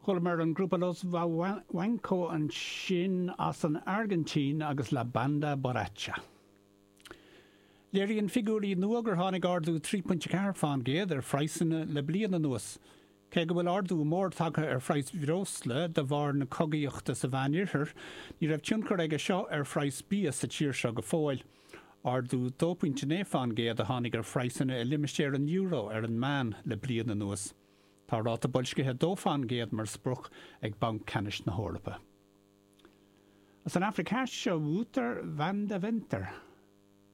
Chualamar an grúpa Los Vivanco ansin as an Airgintín agus La Banda Borracha. Léiríonn figiúirí nua gur tháinig ardú 3.4 fán gcéad ar phraghsanna le bliain anuas. Cé go bhfuil ardú mór tagtha ar phraghas bhreosla de bharr na cogaíochta sa Mheánoirthear, ní raibh tionchar aige seo ar phraghas bia sa tír seo go fóill. Ardú 2.9 fán gcéad a tháinig ar phraghsanna i limistéar an euro ar an meán le bliain anuas. Tá ráta boilscithe 2 fán gcéad mar sprioc ag Banc Ceannais na hEorpa. As an Afraic Theas seo Wouter van Deventer.